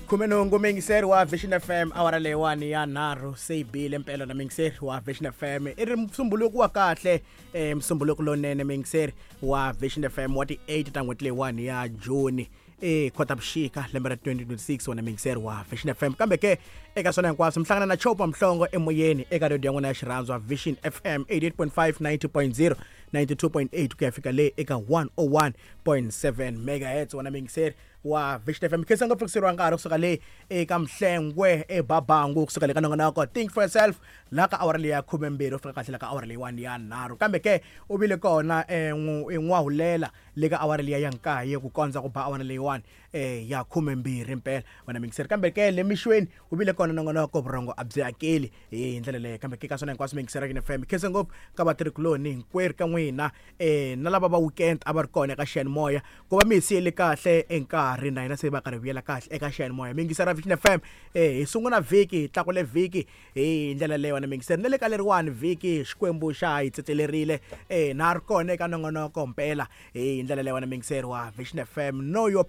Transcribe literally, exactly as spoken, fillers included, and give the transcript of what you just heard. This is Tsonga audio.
Khumenhungu muyingiseri wa Vision F M, awara leyiwani ya nharhu se yi bile mpela na muyingiseri wa Vision F M. I ri musumbuluku wa kahle, um musumbuluku lowunene, muyingiseri wa Vision F M, wa ti eight ta n'hweti leyiwani ya Juni, e Khotavuxika, lembe ra twenty twenty-six, wona muyingiseri wa Vision F M. Kambe ke eka swona hinkwaswo mi hlangana na Chopa Mhlongo emoyeni eka radio ya n'wina ya xirhandzwa Vision F M, eighty-eight point five, ninety point zero, ninety-two point eight ku ya fika le eka one oh one point seven megahertz, wona muyingiseri wa Vision F M. Khensa ngopfu fikiseriwa nkarhi kusuka le eka Mhlengwe ebabangu, kusuka le ka nongonoko Think for Yourself, laha ka awara leyi ya khumembirhi u fika kahle la ka awara leyiwani ya nharhu. Kambe ke u vile kona n'wahulela le ka awara liya ya nkaye ku kondza ku ba awara leyiwani eh ya khumembirhi mpela, wena muyingiseri. Kambe ke le mixweni u vile kona nongonoko Vurhongo a byi hakeli hi ndlela leyo. Kambe ke ka swona hinkwaswo, muyingiseri ya F M, khensa ngopfu ka vatirhikuloni hinkwerhu ka n'wina, eh na lava va weekend a va ri kona eka xiyanimoya ku va mi hi siyele kahle enkarhi na hina se va karhi vuyela kahle eka xiyanimoya. Muyingiseri Vision F M, eh hi sungula vhiki, hi tlakule vhiki hi ndlela leyo, wena muyingiseri. Na le ka leriwani vhiki Xikwembu xa hi tsetelerile, eh na ri kona eka nongonoko mpela hi ndlela leyo, wena muyingiseri wa Vision F M. Know your